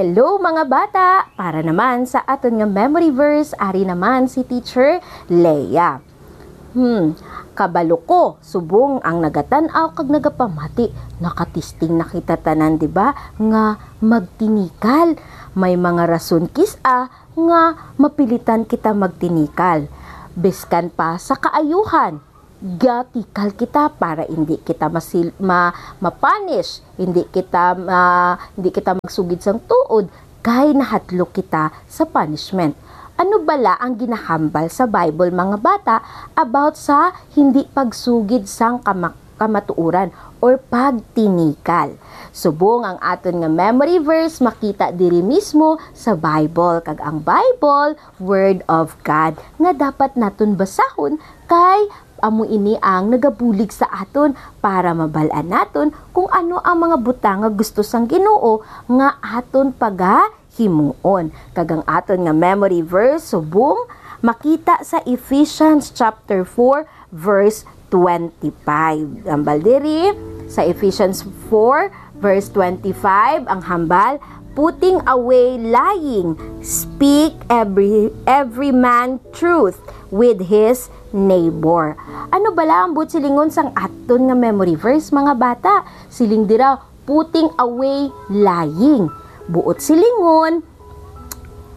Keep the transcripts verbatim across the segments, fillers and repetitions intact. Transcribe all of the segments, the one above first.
Hello, mga bata! Para naman sa aton nga memory verse, ari naman si Teacher Leia. Hmm, kabalo ko, subong ang nagatan-aw kag nagapamati, nakatisting na kita tanan, di ba, nga magtinikal. May mga rason kis-a nga mapilitan kita magtinikal. Biskan pa sa kaayuhan, gatikal kita para hindi kita masil-, ma-, ma-punish, hindi kita ma-, hindi kita magsugid sang tuod, kay nahadlok kita sa punishment. Ano bala ang ginahambal sa Bible, mga bata, about sa hindi pagsugid sang kama-, kamatuoran or pagtinikal? Subong ang aton nga memory verse makita diri mismo sa Bible, kag ang Bible, Word of God, nga dapat naton basahon, kay amo ini ang nagabulig sa aton para mabal-an naton kung ano ang mga butang nga gusto sang Ginoo nga aton pagahimuon. Kag ang aton nga memory verse subong makita sa Ephesians chapter four, verse twenty-five. Hambal diri sa Ephesians four, verse twenty-five, ang hambal, "Putting away lying, speak every, every man truth with his neighbor." Ano bala ang buot silingon sang aton nga memory verse, mga bata? Siling dira, "Putting away lying." Buot silingon,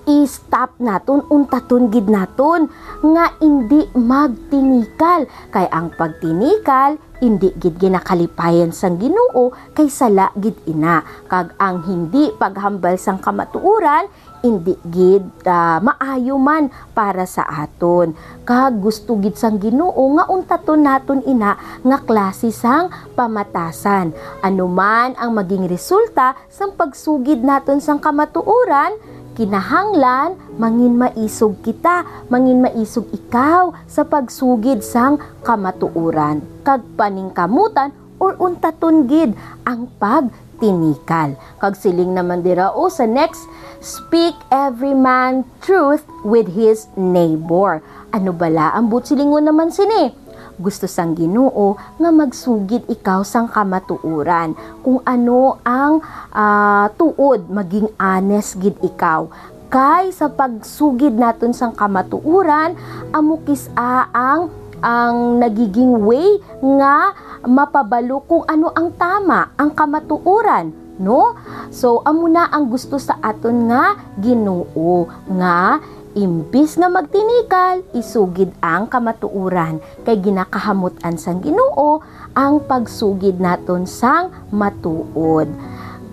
i-stop naton, untaton gid naton nga indi magtinikal, kay ang pagtinikal indi gid ginakalipayan sang Ginoo, kay sala gid ina, kag ang hindi paghambal sang kamatuoran indi gid, ah, maayo man para sa aton. Kag gusto gid sang Ginoo nga untaton naton ina nga klase sang pamatasan. Ano man ang maging resulta sang pagsugid naton sang kamatuoran, kinahanglan manginmaisog kita, manginmaisog ikaw sa pagsugid sang kamatuoran, kag paningkamutan or untaton gid ang pagtinikal. Kag siling naman dira, o, sa next, "Speak every man truth with his neighbor." Ano bala ang buot silingon naman sini? Gusto sang Ginoo nga magsugid ikaw sang kamatuoran. Kung ano ang, ah, tuod, maging honest gid ikaw. Kay sa pagsugid naton sang kamatuoran, amo kis-a ang, ang nagiging way nga mapabalo kung ano ang tama, ang kamatuoran, no? So, amo na ang gusto sa aton nga Ginoo, nga imbis nga magtinikal, isugid ang kamatuoran, kay ginakahamut-an sang Ginoo ang pagsugid naton sang matuod.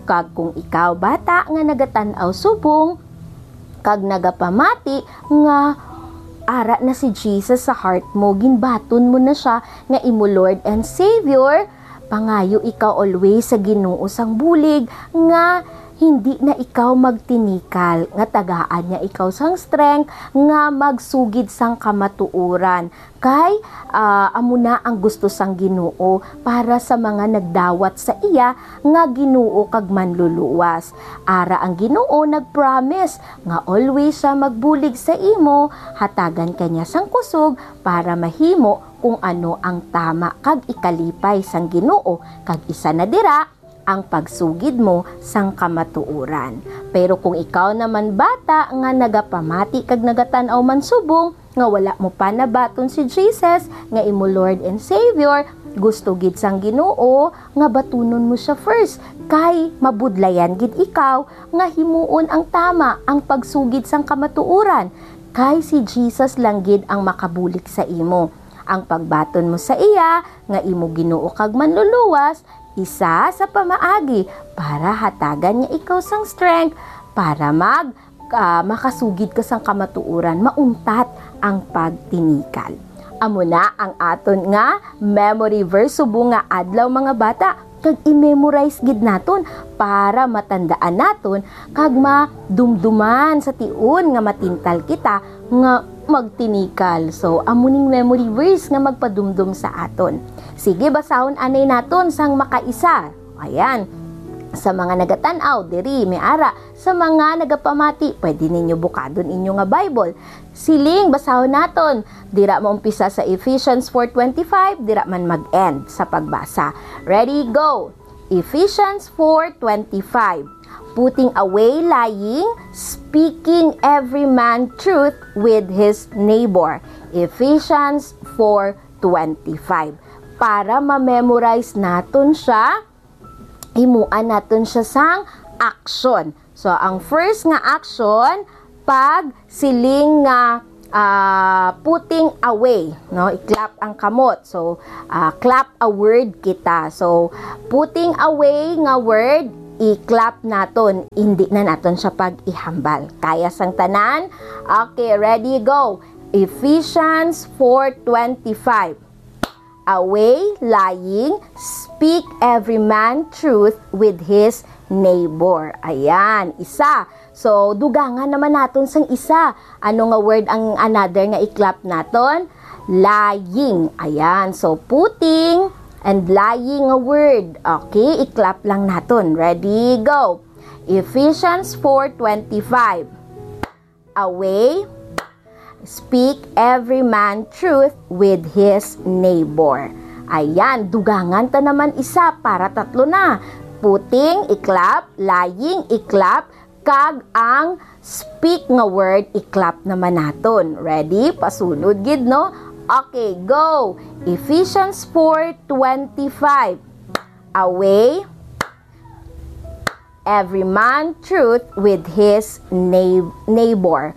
Kag kung ikaw, bata, nga nagatan-aw subong kag nagapamati nga ara na si Jesus sa heart mo, ginbaton mo na sia nga imo Lord and Savior, pangayo ikaw always sa Ginoo sang bulig nga hindi na ikaw magtinikal, nga tagaan niya ikaw sang strength nga magsugid sang kamatuoran. Kay, ah, amo na ang gusto sang Ginoo para sa mga nagdawat sa iya nga Ginoo kag Manluluwas. Ara ang Ginoo nag-promise nga always siya magbulig sa imo, hatagan ka niya sang kusog para mahimo kung ano ang tama kag ikalipay sang Ginoo, kag isa na dira ang pagsugid mo sang kamatuoran. Pero kung ikaw naman, bata, nga nagapamati kag nagatan-aw man subong nga wala mo pa nabaton si Jesus nga imo Lord and Savior, gusto gid sang Ginoo nga batunon mo siya first, kay mabudlayan gid ikaw nga himuon ang tama, ang pagsugid sang kamatuoran, kay si Jesus lang gid ang makabulig sa imo. Ang pagbaton mo sa iya nga imo Ginoo kag Manluluwas, isa sa pamaagi para hatagan niya ikaw sang strength para mag-, ah, makasugid ka sang kamatuoran, mauntat ang pagtinikal. Amo na ang aton nga memory verse subong nga adlaw, mga bata, kag i-memorize gid naton para matandaan naton kag madumduman sa tion nga matintal kita nga magtinikal. So, amo ning memory verse nga magpadumdom sa aton. Sige, basahon anay naton sang makaisa. Ayan. Sa mga nagatan-aw, diri, may ara. Sa mga nagapamati, pwede ninyo bukadon inyo nga Bible. Siling, basahon naton. Dira maumpisa sa Ephesians four twenty-five, dira man mag-end sa pagbasa. Ready, go! Ephesians four twenty-five, putting away lying, speaking every man truth with his neighbor. Ephesians four twenty-five. Para ma-memorize naton siya, himuan naton siya sang action. So, ang first nga action, pag siling nga, ah, putting away, no? I-clap ang kamot. So, ah, clap a word kita. So, putting away nga word, i-clap naton. Hindi na naton siya pag-ihambal. Kaya sang tanan? Okay, ready, go. Ephesians four twenty-five. Away, lying, speak every man truth with his neighbor. Ayan, isa. So, dugangan naman naton sang isa. Ano nga word ang another nga i-clap naton? Lying. Ayan. So, putting and lying nga word. Okay, i-clap lang naton. Ready, go. Ephesians four twenty-five. Away, speak every man truth with his neighbor. Ayan, dugangan ta naman isa para tatlo na. Putting, i-clap, lying, i-clap, kag ang speak nga word, i-clap naman naton. Ready? Pasunod gid, no? Okay, go! Ephesians four twenty-five. Away, every man truth with his neigh- neighbor.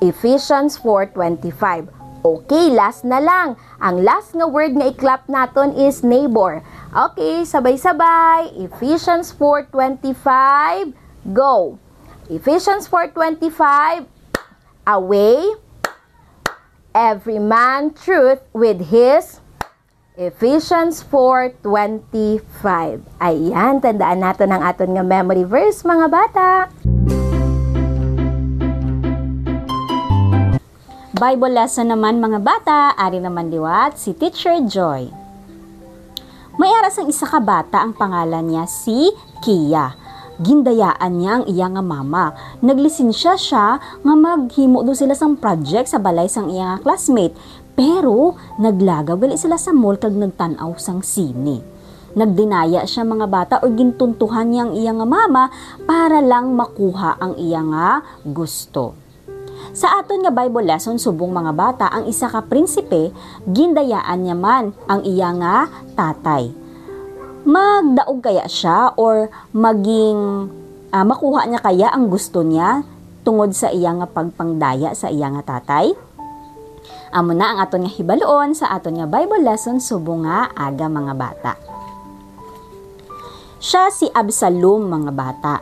Ephesians four twenty-five. Okay, last na lang. Ang last nga word nga i-clap naton is neighbor. Okay, sabay-sabay. Ephesians four twenty-five. Go. Ephesians four twenty-five. Away, every man truth with his Ephesians four twenty-five. Ayan, tandaan naton ang aton nga memory verse, mga bata. Bible lesson naman, mga bata. Ari naman liwat si Teacher Joy. May ara sang isa ka bata, ang pangalan niya si Kia. Gindayaan niya ang iya nga mama. Naglisensya siya nga maghimo daw sila sang project sa balay sang iya nga classmate. Pero naglagaw gali sila sa mall kag nagtan-aw sang sine. Nagdinaya siya, mga bata, or gintuntuhan niya ang iya nga mama para lang makuha ang iya nga gusto. Sa aton nga Bible lesson subong, mga bata, ang isa ka prinsipe, gindayaan niya man ang iya nga tatay. Magdaog kaya siya or maging, ah, makuha niya kaya ang gusto niya tungod sa iya nga pagpangdaya sa iya nga tatay? Amo na ang aton nga hibaluon sa aton nga Bible lesson subong nga aga, mga bata. Siya si Absalom, mga bata,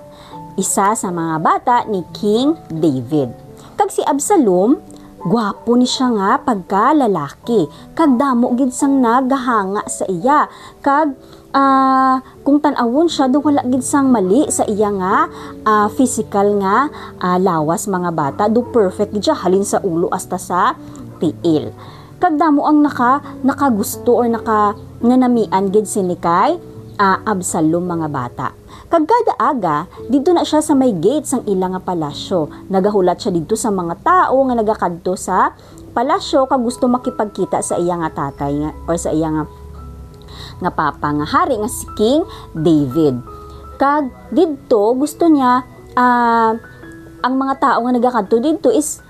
isa sa mga bata ni King David. Kag si Absalom, gwapo ni siya nga pagkalalaki, kag damo gid sang nagahanga sa iya. Kag, ah, kung tan-awon siya, daw wala gid sang mali sa iya nga, ah, physical nga, ah, lawas, mga bata. Do perfect gid siya, halin sa ulo hasta sa tiil. Kag damo ang naka-, nakagusto or naka-, nanamian gid sini kay, ah, Absalom, mga bata. Kag kada aga, didto na siya sa may gate sang ila nga palasyo. Nagahulat siya didto sa mga tawo nga nagakadto sa palasyo kag gusto makipagkita sa iya nga tatay nga, or sa iya nga, nga papa nga hari nga si King David. Kag didto gusto niya, ah, ang mga tawo nga nagakadto didto is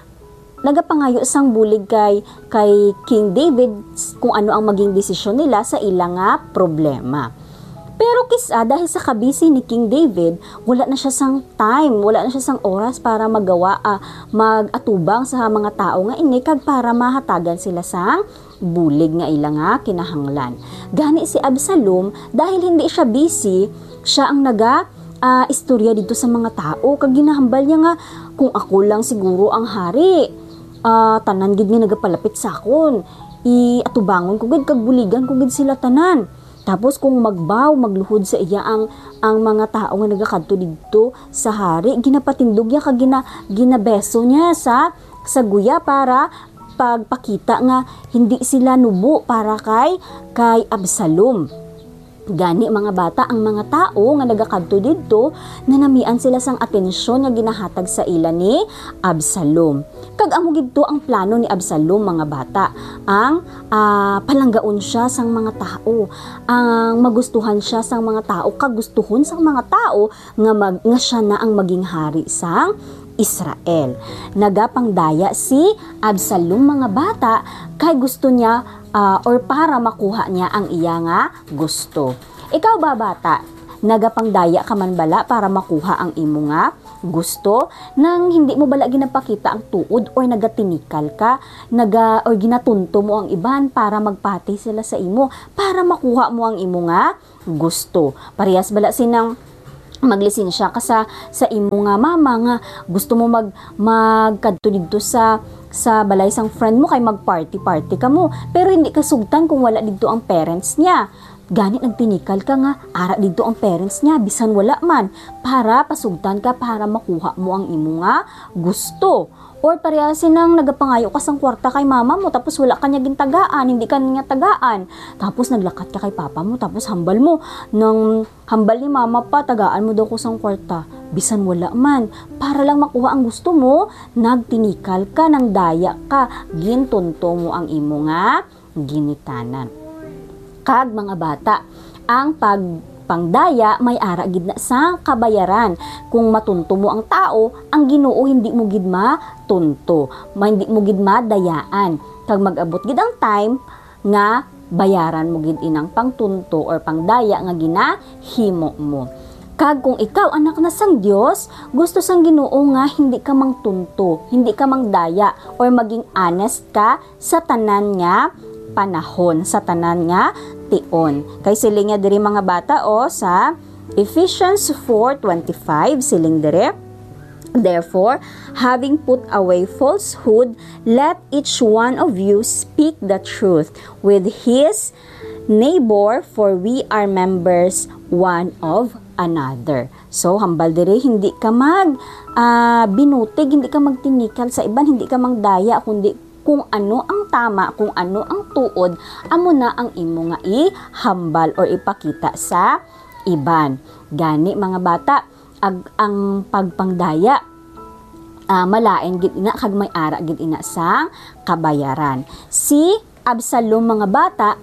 nagapangayo sang bulig kay, kay King David s-, kung ano ang maging desisyon nila sa ila nga problema. Pero kis-a, dahil sa kabisi ni King David, wala na siya sang time, wala na siya sang oras para magawa, ah, mag-atubang sa mga tawo nga ini kag para mahatagan sila sang bulig nga ila nga kinahanglan. Gani si Absalom, dahil hindi siya busy, siya ang naga, ah, istorya didto sa mga tawo, kag ginahambal niya nga, "Kung ako lang siguro ang hari, ah, tanan gid nga nagapalapit sa akon, i-atubangon ko gid kag buligan ko gid sila tanan." Tapos kung magbaw, magluhod sa iya ang, ang mga tawo nga nagakadto didto sa hari, ginapatindog niya kag gina-, ginabeso niya sa, sa guya para pagpakita nga hindi sila nubo para kay, kay Absalom. Gani, mga bata, ang mga tawo nga nagakadto didto, nanamian sila sang atensyon nga ginahatag sa ila ni Absalom. Kag amo gid to ang plano ni Absalom, mga bata, ang, ah, palanggaon siya sang mga tawo, ang magustuhan siya sang mga tawo, kagustuhon sang mga tawo nga mag-, nga siya na ang maging hari sang Israel. Nagapangdaya si Absalom, mga bata, kay gusto niya, ah, or para makuha niya ang iya nga gusto. Ikaw ba, bata? Nagapangdaya ka man bala para makuha ang imo nga gusto? Nang hindi mo bala ginapakita ang tuod or nagatinikal ka, naga-, or ginatunto mo ang iban para magpati sila sa imo, para makuha mo ang imo nga gusto? Parehas bala sinang maglisensya ka sa, sa imo nga mama nga gusto mo mag-, magkadto didto sa, sa balay sang friend mo kay mag-party-party kamo, pero hindi ka sugtan kung wala didto ang parents niya. Gani nagtinikal ka nga ara didto ang parents niya, bisan wala man, para pasugtan ka, para makuha mo ang imo nga gusto. Or parehas sinang nagapangayo ka sang kwarta kay mama mo, tapos wala ka niya gintagaan, hindi ka niya tagaan. Tapos naglakat ka kay papa mo, tapos hambal mo, nang hambal ni mama pa, tagaan mo daw ko sang kwarta. Bisan wala man, para lang makuha ang gusto mo, nagtinikal ka, nangdaya ka, gintunto mo ang imo nga ginikanan. Kag, mga bata, ang pagpangdaya may ara gid na sang kabayaran. Kung matunto mo ang tawo, ang Ginoo hindi mo gid matunto, ma-, hindi mo gid madayaan. Kag mag-abot gid ang time nga bayaran mo gid inang pangtunto or pangdaya nga ginahimo mo. Kag kung ikaw anak na sang Dios, gusto sang Ginoo nga hindi ka mangtunto, hindi ka mangdaya, or maging honest ka sa tanan nga panahon, sa tanan nga tion. Kay siling niya diri, mga bata, o, sa Ephesians four twenty-five, siling diri, "Therefore, having put away falsehood, let each one of you speak the truth with his neighbor, for we are members one of another." So, hambal diri, hindi ka mag, ah, binutig, hindi ka magtinikal sa iban, hindi ka mangdaya, kundi kung ano ang tama, kung ano ang tuod, amo na ang imo nga ihambal or ipakita sa iban. Gani, mga bata, ag-, ang pagpangdaya, ah, malain gid ina kag may ara gid ina sang kabayaran. Si Absalom, mga bata,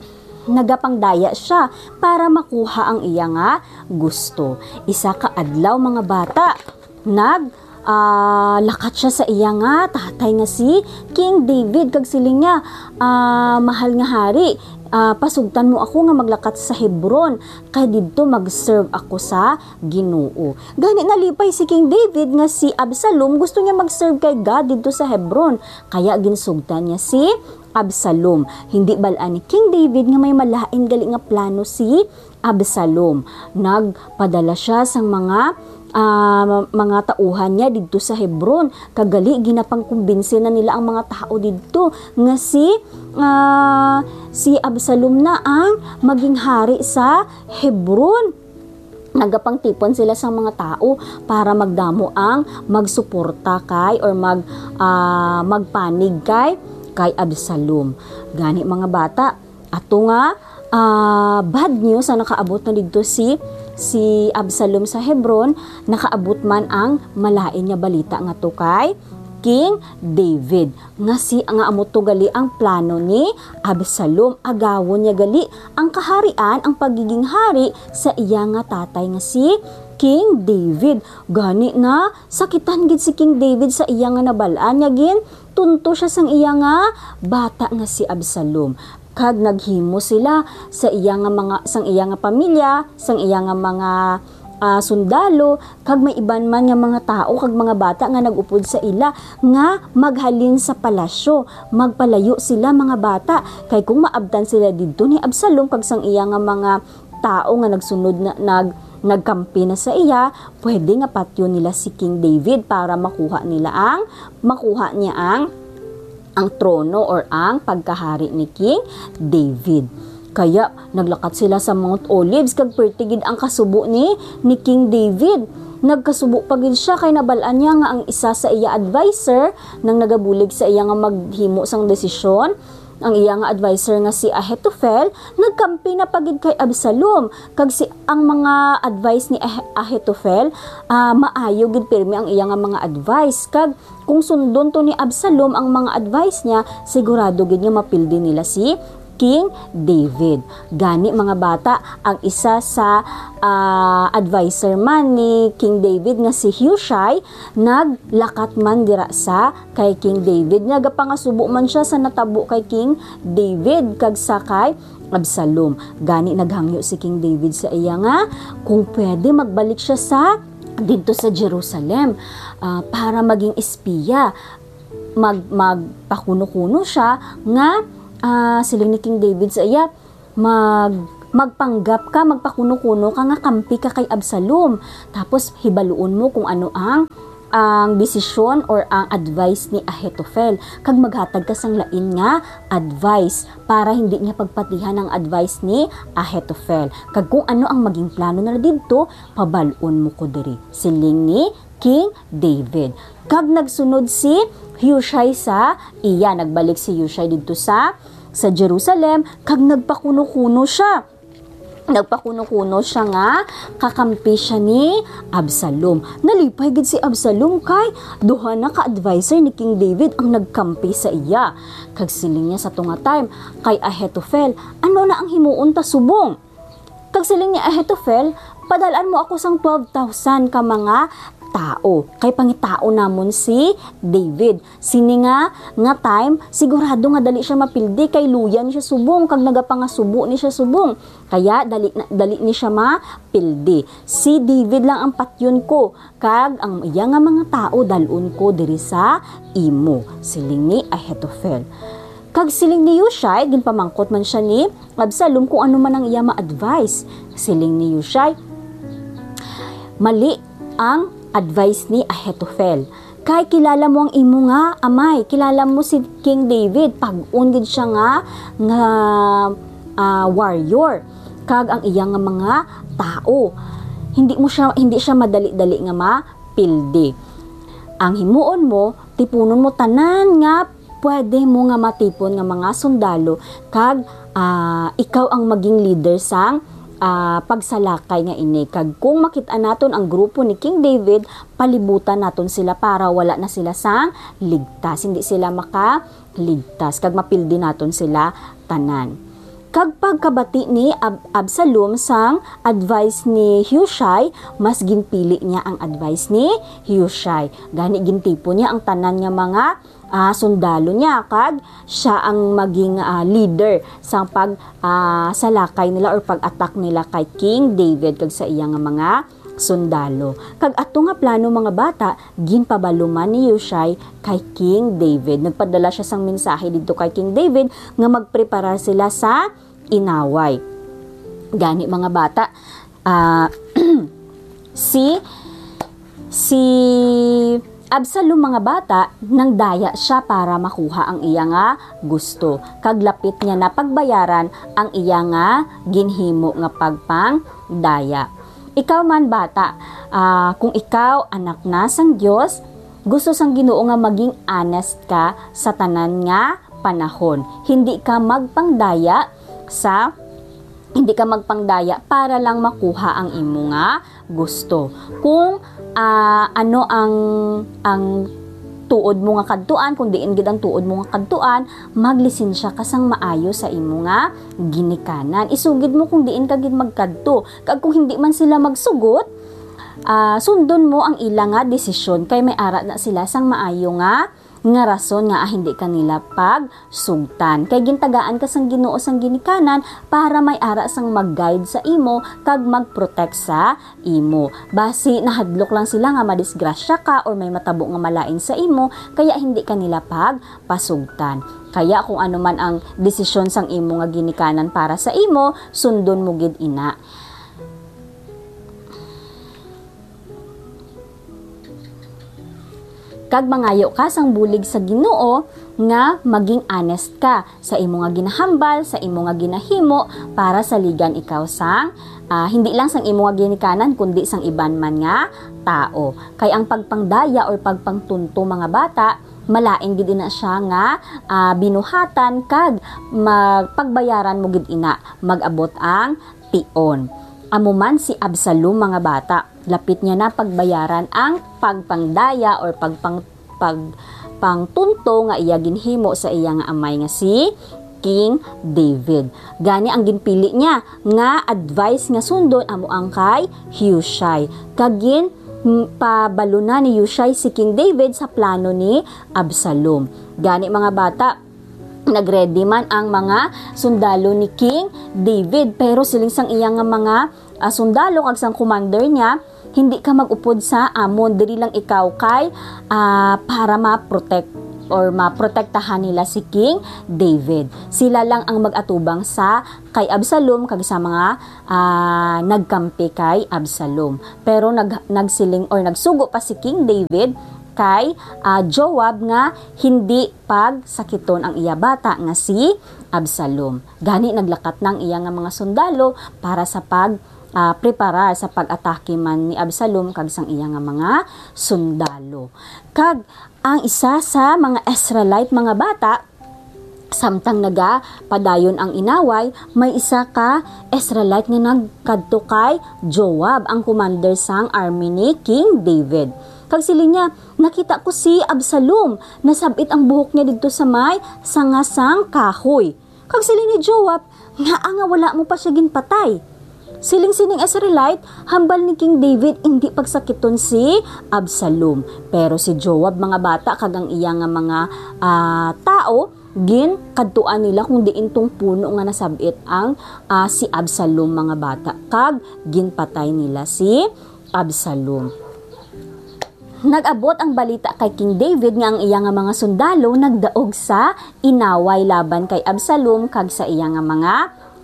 nagapangdaya sia para makuha ang iya nga gusto. Isa ka adlaw, mga bata, nag, ah, lakat sia sa iya nga tatay nga si King David, kag siling niya, ah, "Mahal nga hari, ah, pasugtan mo ako nga maglakat sa Hebron, kay didto mag-serve ako sa Ginoo." Gani, nalipay si King David nga si Absalom gusto niya mag-serve kay God didto sa Hebron, kaya ginsugtan niya si Absalom. Hindi bal-an ni King David nga may malain gali nga plano si Absalom. Nagpadala sia sang mga, ah, mga tauhan niya didto sa Hebron. Kag gali, ginapangkumbinsi na nila ang mga tawo didto nga si, ah, si Absalom na ang maging hari sa Hebron. Nagapangtipon sila sang mga tawo para magdamo ang magsuporta kay or mag, ah, magpanig kay, kay Absalom. Gani, mga bata, ato nga, ah, bad news ang nakaabot na didto si, si Absalom sa Hebron, nakaabot man ang malain nga balita ngadto kay King David, nga si, nga amo to gali ang plano ni Absalom. Agawon niya gali ang kaharian, ang pagiging hari sa iya nga tatay nga si King David. Gani, nasakitan gid si King David sa iya nga nabal-an, nga gintunto sia sang iya nga bata nga si Absalom. Kag naghimo sila sa iya nga mga, sang iya nga pamilya, sang iya nga mga, ah, sundalo, kag may iban man nga mga tawo kag mga bata nga nag-upod sa ila nga maghalin sa palasyo. Magpalayo sila, mga bata, kay kung maabtan sila didto ni Absalom kag sang iya nga mga tawo nga nagsunod na, nag-, nagkampi na sa iya, pwede nga patyon nila si King David para makuha nila ang, makuha niya ang, ang trono or ang pagkahari ni King David. Kaya naglakat sila sa Mount Olives, kag perti gid ang kasubo ni, ni King David. Nagkasubo pa gid sia kay nabal-an niya nga ang isa sa iya adviser, nang nagabulig sa iya nga maghimo sang desisyon, Ang iya nga adviser nga si Ahitofel nagkampi na pa gid kay Absalom, kag si, ang mga advice ni Ah-, Ahitofel, ah, maayo gid pirmi ang iya nga mga advice, kag kung sundon to ni Absalom ang mga advice niya, sigurado gid nga mapildi nila si King David. Gani, mga bata, ang isa sa, ah, adviser man ni King David nga si Hushai naglakat man dira sa kay King David. Nagapangasubo man siya sa natabo kay King David kag sa kay Absalom. Gani, naghangyo si King David sa iya nga kung pwede, magbalik siya sa, didto sa Jerusalem, ah, para maging espiya. Mag-, magpakuno-kuno siya nga, ah, siling ni King David sa iya, "Mag-, magpanggap ka, magpakuno-kuno ka nga kampi ka kay Absalom. Tapos hibaluon mo kung ano ang, ang desisyon or ang advice ni Ahitofel, kag maghatag ka sang lain nga advice para hindi niya pagpatihan ang advice ni Ahitofel. Kag kung ano ang maging plano nila didto, pabal-on mo ko diri," siling ni King David. Kag nagsunod si Hushai sa iya. Nagbalik si Hushai didto sa, sa Jerusalem, kag nagpakuno-kuno siya. Nagpakuno-kuno siya nga kakampi siya ni Absalom. Nalipay gid si Absalom kay duha na ka adviser ni King David ang nagkampi sa iya. Kag siling niya sa tunga time kay Ahitofel, "Ano na ang himuon ta subong?" Kag siling ni Ahitofel, "Padal-an mo ako sang twelve thousand ka mga tao, kay pangitao namon si David. Sini nga, nga time, sigurado nga dali siya mapildi, kay luya ni siya subong, kag nagapangasubo ni siya subong. Kaya dali na, dali ni siya mapildi. Si David lang ang patyon ko, kag ang iya nga mga tao dal-on ko diri sa imo," siling ni Ahitofel. Kag siling ni Hushai, ginpamangkot man siya ni Absalom kung ano man ang iya ma-advise. Siling ni Hushai, "Mali ang advice ni Ahitofel. Kay kilala mo ang imo nga amay, kilala mo si King David, pag-on gid siya nga, nga, ah, warrior, kag ang iya nga mga tao. Hindi mo siya, hindi siya madali-dali nga mapildi. Ang himuon mo, tipunon mo tanan nga pwede mo nga matipon nga mga sundalo, kag, ah, ikaw ang maging leader sang, ah, pagsalakay nga ini. Kag kung makit-an naton ang grupo ni King David, palibutan naton sila para wala na sila sang ligtas. Hindi sila makaligtas, kag mapildi naton sila tanan." Kag pagkabati ni Ab-, Absalom sang advice ni Hushai, mas ginpili niya ang advice ni Hushai. Gani, gintipon niya ang tanan nga mga, ah, sundalo niya, kag siya ang maging, ah, leader sang pag, ah, salakay nila or pag-attack nila kay King David kag sa iya nga mga sundalo. Kag ato nga plano, mga bata, ginpabalo man ni Hushai kay King David. Nagpadala siya sang mensahe didto kay King David nga magpreparar sila sa inaway. Gani, mga bata, ah, si, si Absalom, mga bata, nangdaya siya para makuha ang iya nga gusto, kag lapit niya na pagbayaran ang iya nga ginhimo nga pagpangdaya. Ikaw man, bata, ah, kung ikaw anak na sang Dios, gusto sang Ginoo nga maging honest ka sa tanan nga panahon. Hindi ka magpangdaya sa, hindi ka magpangdaya para lang makuha ang imo nga gusto. Kung, ah, ano ang, ang tuod mo nga kadtuan, kung diin gid ang tuod mo nga kadtuan, maglisensya ka sang maayo sa imo nga ginikanan. Isugid mo kung diin ka gid magkadto. Kag kung hindi man sila magsugot, ah, sundon mo ang ila nga desisyon, kay may ara na sila sang maayo nga, nga rason nga, ah, hindi ka nila pagsugtan. Kay gintagaan ka sang Ginoo sang ginikanan para may ara sang mag-guide sa imo kag mag-protect sa imo. Basi nahadlok lang sila nga madisgrasya ka or may matabo nga malain sa imo, kaya hindi ka nila pagpasugtan. Kaya kung ano man ang desisyon sang imo nga ginikanan para sa imo, sundon mo gid ina. Kag mangayo ka sang bulig sa Ginoo nga maging honest ka sa imo nga ginahambal, sa imo nga ginahimo, para saligan ikaw sang, ah, hindi lang sang imo nga ginikanan, kundi sang iban man nga tao. Kay ang pagpangdaya or pagpangtunto, mga bata, malain gid ina siya nga, ah, binuhatan, kag magpagbayaran mo gid ina, mag-abot ang tion. Amo man si Absalom, mga bata, lapit niya na pagbayaran ang pagpangdaya or pagpang-, pagpangtunto nga iya ginhimo sa iya nga amay nga si King David. Gani, ang ginpili niya nga advice nga sundon amo ang kay Hushai. Kag gin, m-, pabalo na ni Hushai si King David sa plano ni Absalom. Gani, mga bata, nagready man ang mga sundalo ni King David, pero siling sang iya nga mga, ah, sundalo kag sang commander niya, "Hindi ka mag-upod sa amon, diri lang ikaw kay, ah, para ma-protect or maprotektahan nila si King David. Sila lang ang mag-atubang sa kay Absalom kag sa mga, ah, nagkampi kay Absalom." Pero nag-, nagsiling or nagsugo pa si King David kay, ah, Joab nga hindi pagsakiton ang iya bata nga si Absalom. Gani, naglakat na ang iya nga mga sundalo para sa pag, ah, preparar sa pag-atake man ni Absalom kag sang iya nga mga sundalo. Kag ang isa sa mga Israelite, mga bata, samtang nagapadayon ang inaway, may isa ka Israelite nga nagkadto kay Joab, ang commander sang army ni King David. Kag siling niya, "Nakita ko si Absalom, nasab-it ang buhok niya didto sa may sanga sang kahoy." Kag siling ni Joab, "Ngaa nga wala mo pa siya ginpatay?" Siling sining Israelite, hambal ni King David, indi pagsakiton si Absalom. Pero si Joab, mga bata, kag ang iya nga mga, ah, tao, ginkadtuan nila kung diin tong puno nga nasab-it ang, ah, si Absalom, mga bata, kag ginpatay nila si Absalom. Nag-abot ang balita kay King David nga ang iya nga mga sundalo nagdaog sa inaway laban kay Absalom kag sa iya nga mga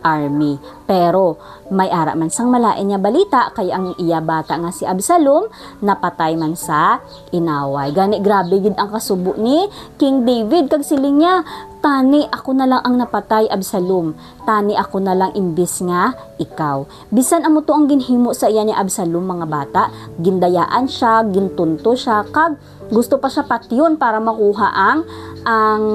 army. Pero may ara man sang malain nga balita, kay ang iya bata nga si Absalom napatay man sa inaway. Gani, grabe gid ang kasubo ni King David, kag siling niya, "Tani ako na lang ang napatay, Absalom. Tani ako na lang imbis nga ikaw." Bisan amo to ang ginhimo sa iya ni Absalom, mga bata, gindayaan siya, gintunto siya, kag gusto pa siya patyon para makuha ang, ang,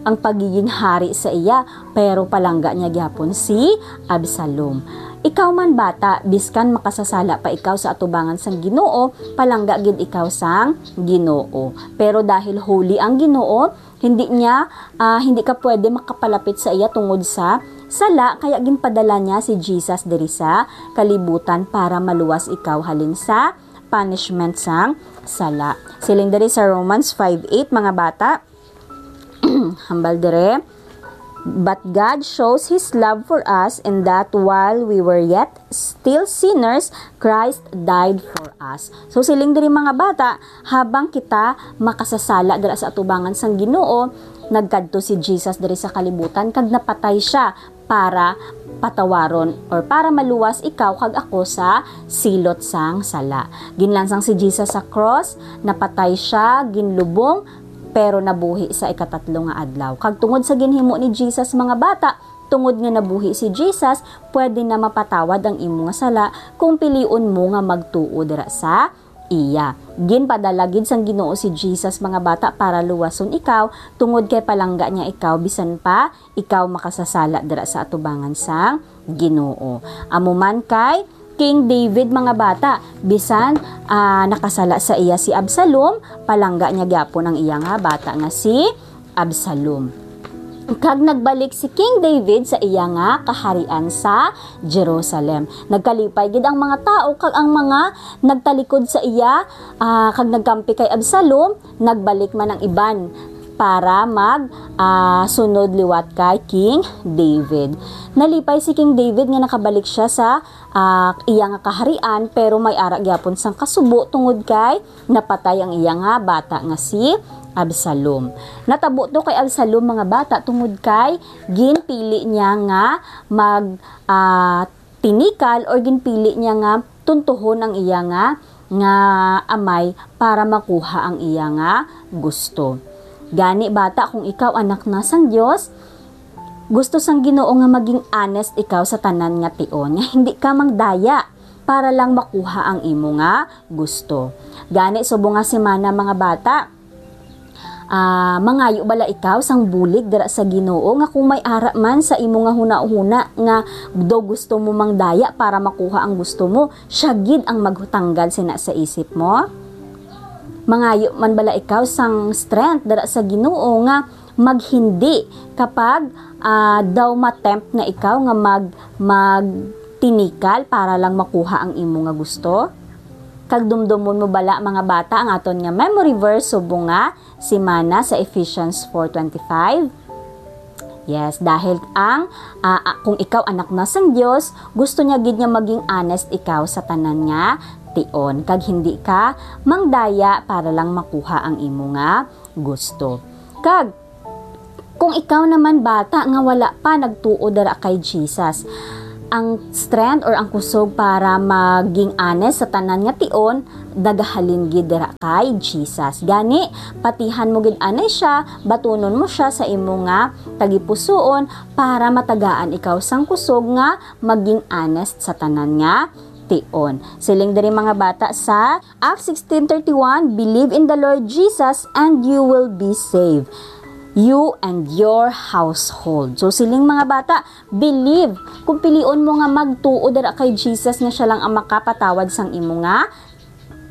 ang pagiging hari sa iya, pero palangga niya gyapon si Absalom. Ikaw man, bata, biskan makasasala pa ikaw sa atubangan sang Ginoo, palangga gid ikaw sang Ginoo. Pero dahil holy ang Ginoo, hindi niya, ah, hindi ka pwede makapalapit sa iya tungod sa sala, kaya ginpadala niya si Jesus diri sa kalibutan para maluwas ikaw halin sa punishment sang sala. Siling diri sa Romans five eight, mga bata, hambal dire, "But God shows His love for us in that while we were yet still sinners, Christ died for us." So, siling diri, mga bata, habang kita makasasala dira sa atubangan sang Ginoo, nagkadto si Jesus diri sa kalibutan kag napatay siya para patawaron or para maluwas ikaw kag ako sa silot sang sala. Ginlansang si Jesus sa cross, napatay siya, ginlubong, pero nabuhi sa ikatatlo nga adlaw. Kag tungod sa ginhimo ni Jesus, mga bata, tungod nga nabuhi si Jesus, pwede na mapatawad ang imo nga sala kung pilion mo nga magtuo dira sa iya. Ginpadala gid sang Ginoo si Jesus, mga bata, para luwason ikaw, tungod kay palangga niya ikaw, bisan pa ikaw makasasala dira sa atubangan sang Ginoo. Amo man kay King David, mga bata, bisan, ah, nakasala sa iya si Absalom, palangga niya gyapon ang iya nga bata nga si Absalom. Kag nagbalik si King David sa iya nga kaharian sa Jerusalem. Nagkalipay gid ang mga tawo kag ang mga nagtalikod sa iya, ah, kag nagkampi kay Absalom, nagbalik man ang iban para mag, ah, sunod liwat kay King David. Nalipay si King David nga nakabalik siya sa, ah, iya nga kaharian, pero may ara gyapon sang kasubo tungod kay napatay ang iya nga bata nga si Absalom. Natabo to kay Absalom, mga bata, tungod kay ginpili niya nga mag, ah, tinikal or ginpili niya nga tuntuhon ang iya nga, nga amay para makuha ang iya nga gusto. Gani, bata, kung ikaw anak na sang Dios, gusto sang Ginoo nga maging honest ikaw sa tanan nga tion, nga hindi ka magdaya para lang makuha ang imo nga gusto. Gani, subong nga semana, mga bata, Ah, mangayo bala ikaw sang bulig dira sa Ginoo, nga kung may ara man sa imo nga hunahuna nga daw gusto mo mangdaya para makuha ang gusto mo, siya gid ang maghutanggal sina sa isip mo? Mangayo man bala ikaw sang strength dira sa Ginoo nga maghindi kapag, ah, daw matempt na ikaw nga mag-, magtinikal para lang makuha ang imo nga gusto? Kag dumdomon mo bala, mga bata, ang aton nga memory verse subong nga semana sa Ephesians four twenty-five? Yes, dahil ang, ah, ah, kung ikaw anak na sang Dios, gusto niya gid nga maging honest ikaw sa tanan nga tion, kag hindi ka mangdaya para lang makuha ang imo nga gusto. Kag kung ikaw naman, bata, nga wala pa nagtuo dira kay Jesus, ang strength or ang kusog para maging honest sa tanan nga tion nagahalin gid dira kay Jesus. Gani, patihan mo gid anay siya, batunon mo siya sa imo nga tagipusoon para matagaan ikaw sang kusog nga maging honest sa tanan nga tion. Siling diri, mga bata, sa Acts sixteen thirty-one, "Believe in the Lord Jesus and you will be saved, you and your household." So, siling, mga bata, believe. Kung pilion mo nga magtuo dira kay Jesus nga siya lang ang makapatawad sang imo nga,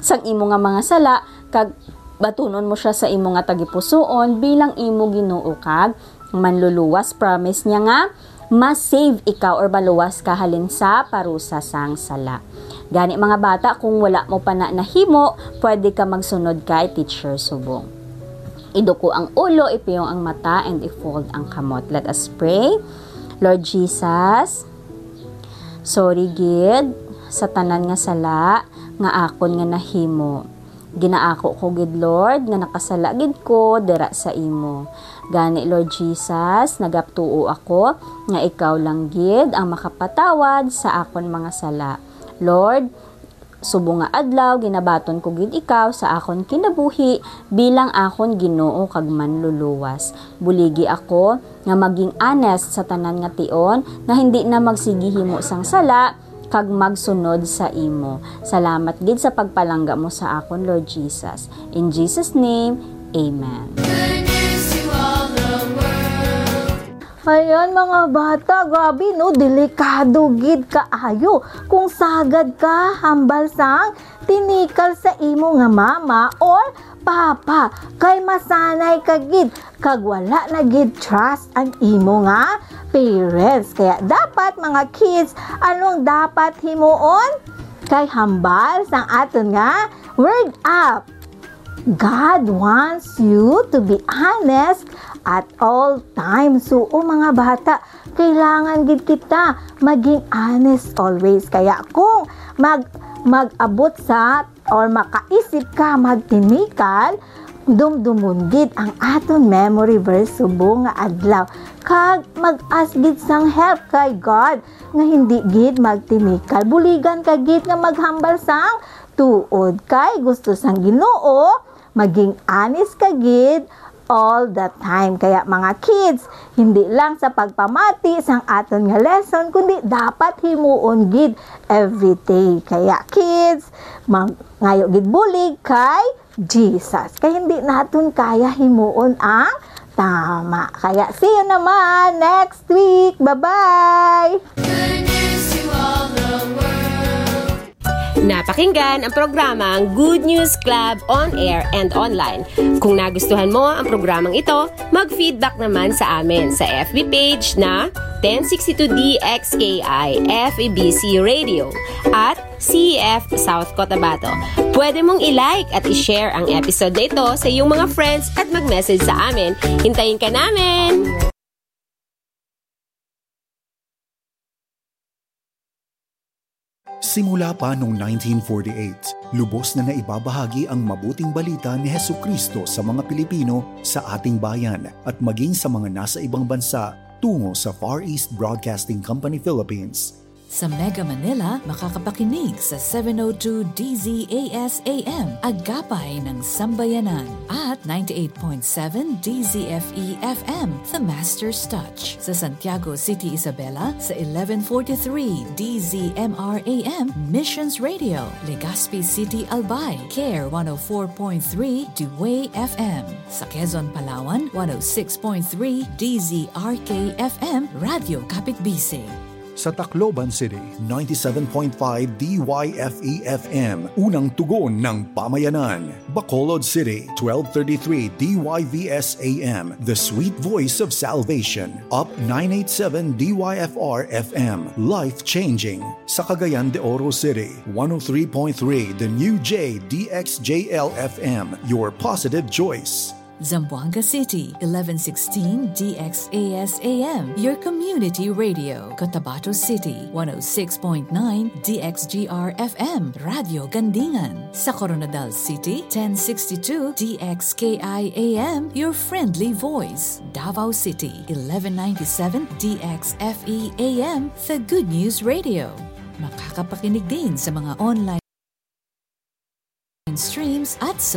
sang imo nga mga sala, kag batunon mo siya sa imo nga tagipusoon bilang imo Ginoo kag Manluluwas, promise niya nga ma-save ikaw or maluwas ka halin sa parusa sang sala. Gani, mga bata, kung wala mo pa na nahimo, pwede ka magsunod kay Teacher Subong. Iduko ang ulo, ipiyong ang mata, and i-fold ang kamot. Let us pray. Lord Jesus, sorry gid sa tanan nga sala nga akon nga nahimo. Ginaako ko gid, Lord, nga nakasala gid ko dira sa imo. Gani, Lord Jesus, nagatuo ako nga ikaw lang gid ang makapatawad sa akon mga sala. Lord, subong nga adlaw, ginabaton ko gid ikaw sa akon kinabuhi bilang akon Ginoo kag Manluluwas. Buligi ako nga maging honest sa tanan nga tion, nga hindi na magsigihimo sang sala, kag magsunod sa imo. Salamat gid sa pagpalangga mo sa akon, Lord Jesus. In Jesus' name, amen. Good news to all the world. Ayan, mga bata, grabe, no? Delikado gid kaayo kung sagad ka hambal sang tinikal sa imo nga mama or papa, kay masanay ka gid kag wala na gid trust ang imo nga parents. Kaya dapat, mga kids, anong dapat himuon? Kay hambal sang aton nga word up, God wants you to be honest at all times. So, o, mga bata, kailangan gid kita maging honest always. Kaya kung mag-, mag-abot sa or makaisip ka magtinikal, dumdumon gid ang aton memory verse subong nga adlaw, kag mag-ask gid sang help kay God nga hindi gid magtinikal. Buligan ka gid nga maghambal sang tuod, kay gusto sang Ginoo maging honest ka gid all the time. Kaya, mga kids, hindi lang sa pagpamati sang aton nga lesson, kundi dapat himuon gid every day. Kaya, kids, mangayo gid bulig kay Jesus. Kay hindi naton kaya himuon ang tama. Kaya, see you naman next week. Bye-bye! Good news to all the world. Napakinggan ang programang Good News Club on air and online. Kung nagustuhan mo ang programang ito, mag-feedback naman sa amin sa F B page na ten sixty-two D X K I F E B C Radio at C E F South Cotabato. Pwede mong i-like at i-share ang episode na ito sa iyong mga friends at mag-message sa amin. Hintayin ka namin! Simula pa noong nineteen forty-eight, lubos na naibabahagi ang mabuting balita ni Jesucristo sa mga Pilipino sa ating bayan at maging sa mga nasa ibang bansa tungo sa Far East Broadcasting Company Philippines. Sa Mega Manila, makakapakinig sa seven oh two D Z A S A M, Agapay ng Sambayanan, at ninety-eight point seven D Z F E F M, The Master's Touch. Sa Santiago City, Isabela, sa eleven forty-three D Z M R A M, Missions Radio, Legazpi City, Albay, Care one oh four point three, Dewey F M. Sa Quezon, Palawan, one oh six point three D Z R K F M, Radyo Kapitbisig. Sa Tacloban City, ninety-seven point five D Y F E F M, Unang Tugon ng Pamayanan. Bacolod City, twelve thirty-three D Y V S A M, The Sweet Voice of Salvation. Up nine eight seven D Y F R F M, Life Changing. Sa Cagayan de Oro City, one oh three point three The New J D X J L F M, Your Positive Choice. Zamboanga City, eleven sixteen D X A S A M, your community radio. Cotabato City, one oh six point nine D X G R F M, Radyo Gandingan. Sa Koronadal City, ten sixty-two D X K I A M, your friendly voice. Davao City, eleven ninety-seven D X F E A M, the Good News Radio. Makakapakinig din sa mga online streams at sa